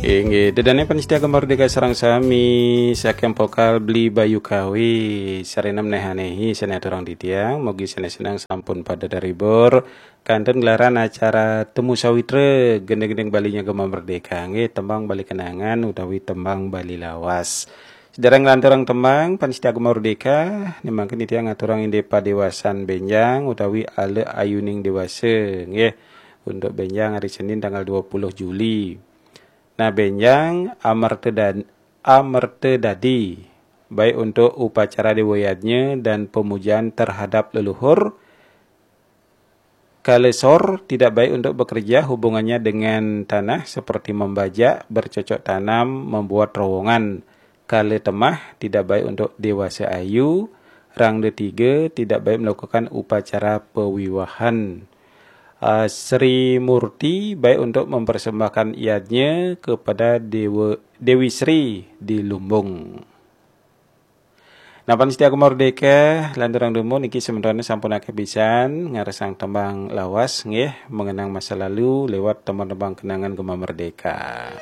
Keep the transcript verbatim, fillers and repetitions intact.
Inggih, dedane pamiarsa Gema Merdeka sareng sami, saking vokal Bli Bayu Kawi, sareng menawi saking aturang titiang, mugi sanes-senes sampun pada terhibur, kantun gelaran acara Temu Sawitra, gending-gending Balinya Gema Merdeka, nggih, tembang Bali kenangan utawi tembang Bali lawas. Sedereng nglanturang tembang, pamiarsa Gema Merdeka, niki mangkin titiang ngaturang indik padewasan benjang utawi ale ayuning dewasa, nggih, untuk benjang hari Senin tanggal dua puluh Juli. Nah, benjang amerta dan amerta dadi, baik untuk upacara dewa yadnya dan pemujaan terhadap leluhur. Kala sor tidak baik untuk bekerja, hubungannya dengan tanah seperti membajak, bercocok tanam, membuat terowongan. Kala temah tidak baik untuk dewasa ayu, rangda tiga tidak baik melakukan upacara pewiwahan. Ah, Sri Murti baik untuk mempersembahkan yadnya kepada Dewa, Dewi Sri di Lumbung. Nah, pamiarsa Gema Merdeka, lanturang dumun niki sementara sampun akeh pisan ngarsang tembang lawas, nggih, mengenang masa lalu lewat tembang-tembang kenangan Gema Merdeka.